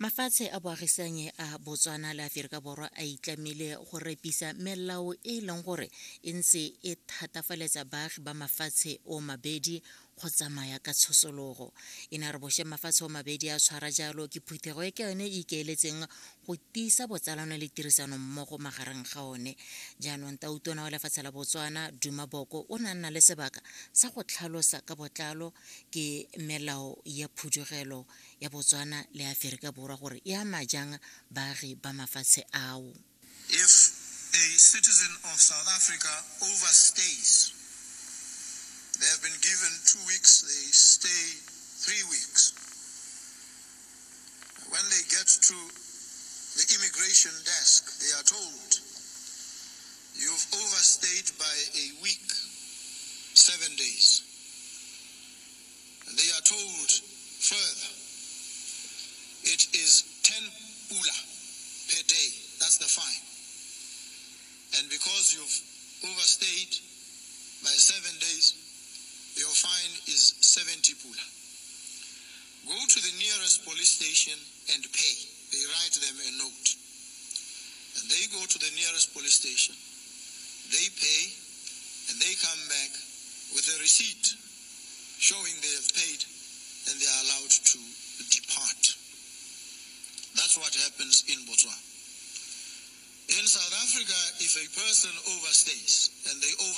Mafatshe a boagisanye a Botswana le Aferika Borwa a itlamile go repisa melao e e leng gore e ntse e thatafaletsa baagi ba mafatshe o mabedi go tsamaya ka tshosologo. E ne a re bošeng mafatshe o mabedi a tshwara jalo ke phuthego e ke yone e ikaeletseng go tiisa botsalano le tirisano mmogo magareng ga one. Jaanong tautona wa lefatshe la Botswana Duma Boko o ne a nna le sebaka sa go tlhalosa ka botlalo ke melao ya phudugelo ya Botswana le Aferika Borwa gore e ama jang baagi ba mafatshe ao. If a citizen of South Africa overstays, they have been given 2 weeks, they stay 3 weeks. When they get to the immigration desk, they are told, "You've overstayed by a week, 7 days." And they are told further, it is 10 pula per day. That's the fine. And because you've overstayed by 7 days, your fine is 70 pula. Go to the nearest police station and pay. They write them a note. And they go to the nearest police station. They pay and they come back with a receipt showing they have paid and they are allowed to depart. That's what happens in Botswana. In South Africa, if a person overstays and they